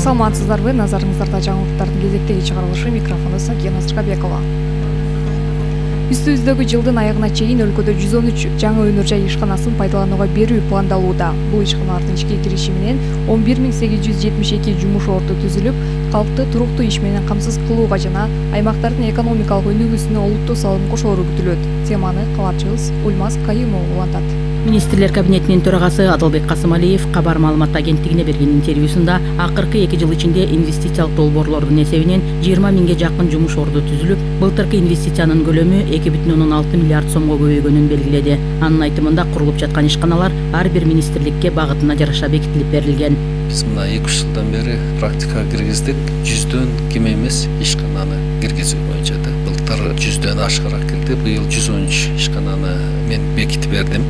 Саламатсыздарбы, назарыңыздарда жаңылыктардын кезектеги чыгарылышы, микрофондо Сакия Назарбекова. Үстүбүздөгү жылдын аягына чейин өлкөдө 113 жаңы өнөр жай ишканасын пайдаланууга берүү пландалууда. Бул ишканалардын ишке кириши менен 11872 жумуш орду түзүлүп, калкты туруктуу иш менен камсыз кылууга жана аймактардын экономикалык өнүгүүсүнө олуттуу салым кошоору күтүлөт. Теманы кабарчыбыз Ульмаз Кайымов улантат. Министрлер кабинетинин төрагасы Адылбек Касымалиев кабар маалымат агенттигине берген интервьюсунда акыркы 2 жыл ичинде инвестициялык долбоорлордун эсебинен 20 миңге жакын жумуш орду түзүлүп, былтыркы инвестициянын көлөмү 2,6 миллиард сомго көбөйгөнүн белгиледи. Анын айтымында курулуп жаткан ишканалар ар бир министрликке багытына жараша бекитилип берилген. Биз мына 2 жылдан бери практикага киргиздик. 100дөн кем эмес ишкананы киргизүү боюнча да. Былтыр 100дөн ашыгыраак кирди. Быйыл 113 ишкананы мен бекитип бердим.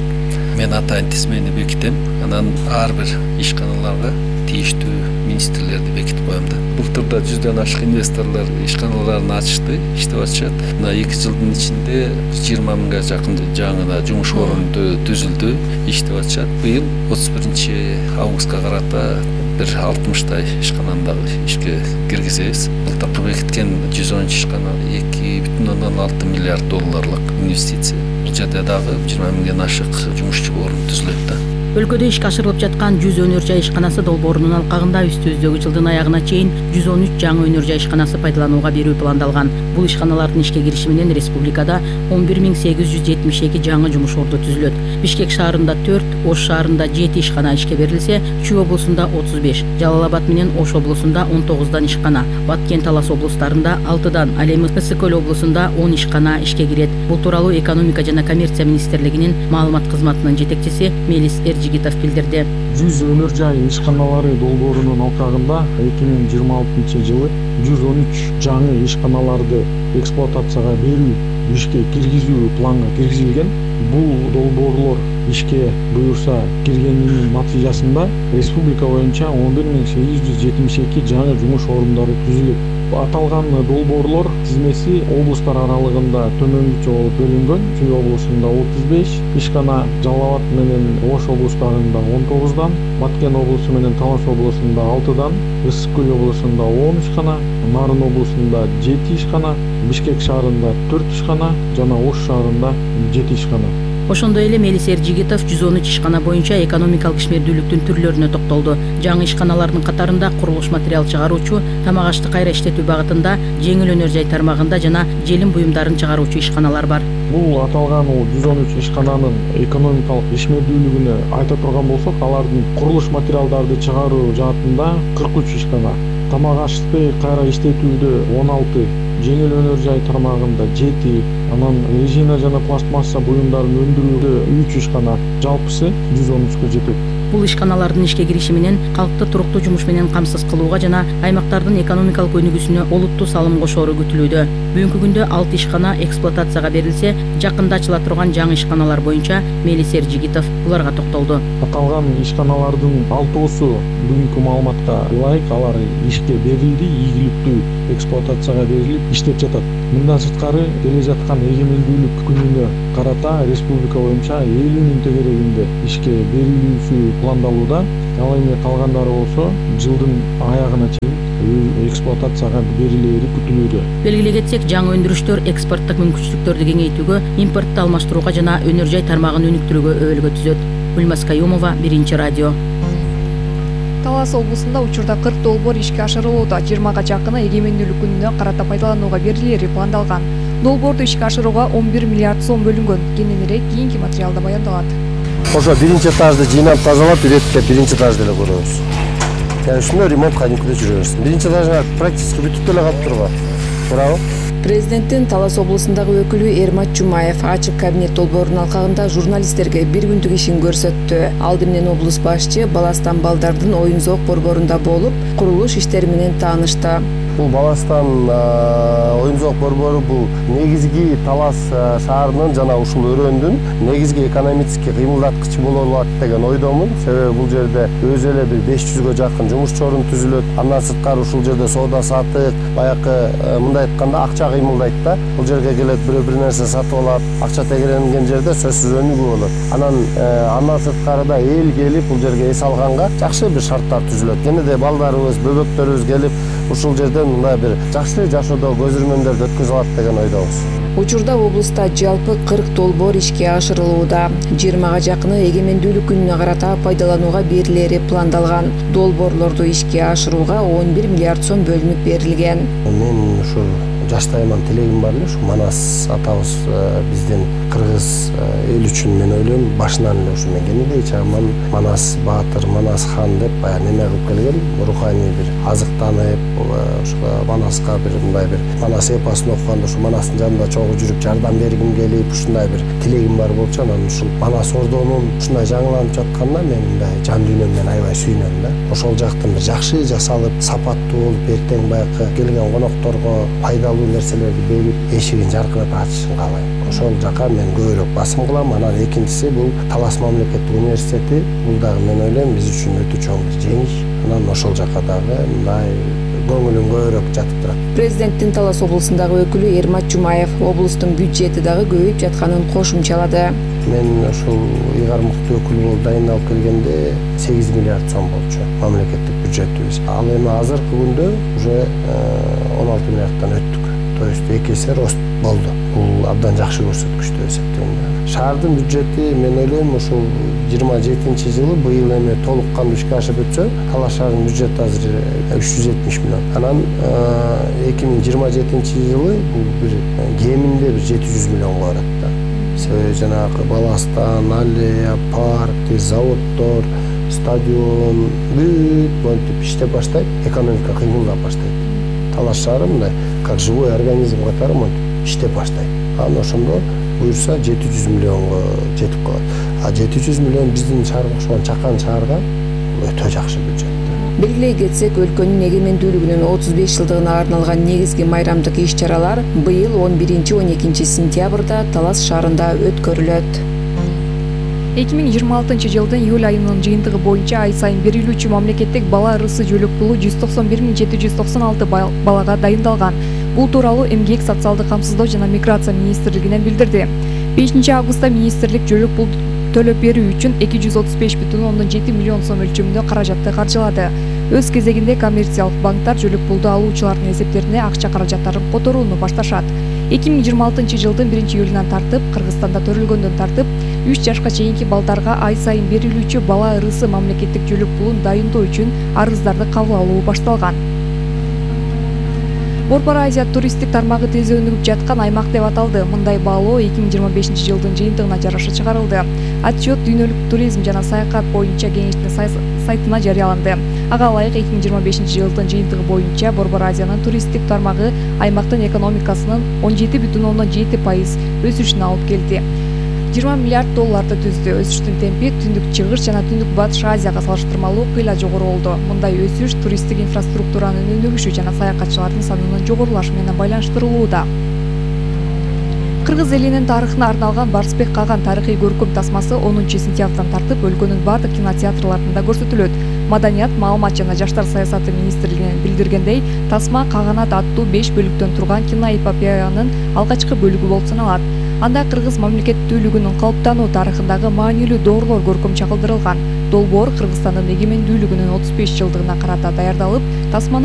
Мен атайын тизмени бекитем, анан ар бир ишканаларга тийиштүү министрлерди бекитип коем да. Былтырда 100дөн ашык инвесторлор ишканаларын ачышты, иштеп атышат. Мына 2 жылдын ичинде 20 миңге жакын жаңы жумуш орунду түзүлдү, иштеп атышат. Быйыл 31 августка карата бир 60 ишкананы дагы ишке киргизебиз. Былтыр бекиткен 113 ишкана 2,6 миллиард долларлык инвестиция. Бул жерде дагы 20 миңден ашык жумушчу орун түзүлөт да. Өлкөдө ишке ашырылып жаткан 100 өнөр жай ишканасы долбоорунун алкагында үстүбүздөгү жылдын аягына чейин 113 жаңы өнөр жай ишканасы пайдаланууга берүү пландалган. Бул ишканалардын ишке кириши менен республикада 11872 жаңы жумуш орду түзүлөт. Бишкек шаарында 4, Ош шаарында 7 ишкана ишке берилсе, Чүй облусунда 35, Жалал Абад менен Ош облусунда 19дан ишкана, Баткен Талас облустарында 6дан, ал эми Ысык Көл облусунда 10 ишкана ишке кирет. Бул тууралуу экономика жана коммерция министрлигинин маалымат кызматынын жетекчиси Мелис Эржигитов билдирди. 100 өнөр жай ишканалары долбоорунун алкагында 2026 жылы 113 жаңы ишканаларды эксплуатацияга берүү, ишке киргизүү планга киргизилген. Бул долбоорлор ишке буюрса киргенинин натыйжасында республика боюнча 11872 жаңы жумуш орундары түзүлөт. Аталган долбоорлор тизмеси облустар аралыгында төмөнгүчө болуп бөлүнгөн. Чүй облусунда 35 ишкана, Жалал Абад менен Ош облустарында 19дан, Баткен облусу менен Талас облусунда 6дан, Ысык Көл облусунда 10 ишкана, Нарын облусунда 7 ишкана, Бишкек шаарында 4 ишкана жана Ош шаарында 7 ишкана. Ошондой эле Мелис Эржигитов 113 ишкана боюнча экономикалык ишмердүүлүктүн түрлөрүнө токтолду. Жаңы ишканалардын катарында курулуш материал чыгаруучу, тамак ашты кайра иштетүү багытында, жеңил өнөр жай тармагында жана желим буюмдарын чыгаруучу ишканалар бар. Бул аталган 113 ишкананын экономикалык ишмердүүлүгүнө айта турган болсок, алардын курулуш материалдарды чыгаруу жаатында 43 ишкана, тамак ашты кайра иштетүүдө 16, жеңил өнөр жай тармагында 7, анан резина жана пластмасса буюмдарын өндүрүүдө 3 ишкана, жалпысы 113кө жетет. Бул ишканалардын ишке кириши менен калкты туруктуу жумуш менен камсыз кылууга жана аймактардын экономикалык өнүгүүсүнө олуттуу салым кошоору күтүлүүдө. Бүгүнкү күндө 6 ишкана эксплуатацияга берилсе, жакында ачыла турган жаңы ишканалар боюнча Мелис Эржигитов буларга токтолду. Аталган ишканалардын 6-су бүгүнкү маалыматка ылайык алар ишке берилди, ийгиликтүү эксплуатацияга берилип иштеп жатат. Мындан сырткары келе жаткан эгемендүүлүк күнүнө карата республика боюнча 50 миң тегерегинде ишке берилүүсү пландалууда. Ал эми калгандары болсо жылдын аягына чейин эксплуатацияга берилери күтүлүүдө. Белгилей кетсек, жаңы өндүрүштөр экспорттук мүмкүнчүлүктөрдү кеңейтүүгө, импортту алмаштырууга жана өнөр жай тармагын өнүктүрүүгө өбөлгө түзөт. Ульмаз Кайымова, Биринчи радио. Талас облусунда учурда 40 долбоор ишке ашырылууда. 20га жакыны эгемендүүлүк күнүнө карата пайдаланууга берилери пландалган. Долбоорду ишке ашырууга 11 миллиард сом бөлүнгөн. Кененирээк кийинки материалда баяндалат. Ошо биринчи этажды жыйнап тазалап, иреттеп биринчи этажды эле көрөбүз. Ушуну ремонтка алып жүрөбүз. Биринчи этажга практически бүтүп деле калып турган. Туурабы? Президенттин Талас облусундагы өкүлү Эрмат Жумаев ачык кабинет долбоорунун алкагында журналисттерге бир күндүк ишин көрсөттү. Алды менен облус башчы Баластан балдардын оюн зоок борборунда болуп, курулуш иштери менен таанышты. Бул Баластан оюн зоок борбору бул негизги Талас шаарынын жана ушул өрөөндүн негизги экономический кыймылдаткычы боло алат деген ойдомун. Себеби бул жерде өзү эле бир 500гө жакын жумушчу орун түзүлөт. Андан сырткары ушул жерде соода сатык, баягы мындай айтканда акча кыймылдайт да. Бул жерге келет, бирөө бир нерсе сатып алат, акча тегеренген жерде сөзсүз өнүгүү болот. Андан сырткары да эл келип бул жерге эс алганга жакшы бир шарттар түзүлөт. Кенеде балдарыбыз, бөбөктөрүбүз келип ушул жерден мындай бир жакшы жашоодо көзүрмөндөрдү өткөзө алат деген ойдобуз. Учурда облуста жалпы 40 долбоор ишке ашырылууда. 20га жакыны эгемендүүлүк күнүнө карата пайдаланууга берилери пландалган. Долбоорлорду ишке ашырууга 11 миллиард сом бөлүнүп берилген. Мен ушу жаштайман тилегим бар эле, ушу Манас атабыз биздин кыргыз эл үчүн мен ойлойм башынан эле ушу мен кенедей чагыман Манас баатыр, Манас хан деп баягы неме кылып келген, руханий бир азыктанып, ошо Манаска бир мындай бир Манас эпосун окуганда ушу Манастын жанында чогуу жүрүп жардам бергим келип, ушундай бир тилегим бар болчу. Анан ушул Манас ордонун ушундай жаңыланып жатканына мен мындай жан дүйнөмдөн аябай сүйүнөм да. Ошол жактан бир жакшы жасалып, сапаттуу болуп, эртең баягы келген конокторго пайдалуу нерселерди берип, эшигин жаркыратып ачышын каалайм. Ошол жака мен көбүрөөк басым кылам. Анан экинчиси бул Талас мамлекеттик университети. Бул дагы мен ойлойм биз үчүн өтө чоң бир жеңиш. Анан ошол жака дагы мындай көңүлүм көбүрөөк жатып турат. Президенттин Талас облусундагы өкүлү Эрмат Жумаев облустун бюджети дагы көбөйүп жатканын кошумчалады. Мен ушул ыйгармыктуу өкүл болуп дайындалып келгенде 8 миллиард сом болчу мамлекеттик бюджетибиз. Ал эми азыркы күндө уже 16 миллиардтан өттүк. То есть 2 эсе рост болду. Бул абдан жакшы көрсөткүч деп эсептейм. Шаардын бюджети мен ойлойм ушул 27-жылы быйыл эми толук кандуу ишке ашып өтсө, Талас шаарынын бюджети азыр 370 миллион. Анан 2027-жылы бул бир кеминде бир 700 миллионго барат да. Себеби жанагы Баластан, аллея, парк, заводдор, стадион бүт монтип иштеп баштайт, экономика кыймылдап баштайт. Талас шаары мындай как живой организм катары монтип иштеп баштайт. Анан ошондо буюрса 700 миллионго жетип калат. А 700 миллион биздин шаарга окшогон чакан шаарга өтө жакшы бюджет. Белгилей кетсек, өлкөнүн эгемендүүлүгүнүн 35 жылдыгына арналган негизги майрамдык иш-чаралар быйыл 11-12 сентябрда Талас шаарында өткөрүлөт. 2026 жылдын июль айынын жыйынтыгы боюнча ай сайын берилүүчү мамлекеттик бала ырысы жөлөк пулу 191 796 балага дайындалган. Бул тууралуу Эмгек, социалдык камсыздоо жана миграция министрлигинен билдирди. 5 августта министрлик жөлөк пул төлөп берүү үчүн 235,7 миллион сом өлчөмүндө каражатты каржылады. Өз кезегинде коммерциялык банктар жөлөк пулду алуучулардын эсептерине акча каражаттарын которууну башташат. 2026 жылдын 1-июлунан тартып, Кыргызстанда төрөлгөндөн тартып, 3 жашка чейинки балдарга ай сайын берилүүчү бала ырысы мамлекеттик жөлөк пулун дайындоо үчүн арыздарды кабыл алуу башталган. Борбор Азия туристтик тармагы тез өнүгүп жаткан аймак деп аталды. Мындай баалоо 2025 жылдын жыйынтыгына жараша чыгарылды. Отчет Дүйнөлүк туризм жана саякат боюнча кеңештин сайтына жарыяланды. Ага ылайык 2025 жылдын жыйынтыгы боюнча Борбор Азиянын туристтик тармагы аймактын экономикасынын 17,7% өсүшүнө алып келди. 20 миллиард долларды түздү. Өсүштүн темпи түндүк чыгыш жана түндүк батыш Азияга салыштырмалуу кыйла жогору болду. Мындай өсүш туристтик инфраструктуранын өнүгүшү жана саякатчылардын санынын жогорулашы менен байланыштырылууда. Кыргыз элинин тарыхына арналган Барсбек Каган тарыхый көркөм тасмасы 10 сентябрдан тартып өлкөнүн бардык кинотеатрларында көрсөтүлөт. Маданият, маалымат жана жаштар саясаты министрлигинен билдиргендей, тасма Каганат аттуу 5 бөлүктөн турган киноэпопеянын алгачкы бөлүгү болуп саналат. Анда кыргыз мамлекеттүүлүгүнүн калыптануу тарыхындагы маанилүү доорлор көркөм чагылдырылган. Долбоор Кыргызстандын эгемендүүлүгүнүн 35 жылдыгына карата даярдалып, тасманы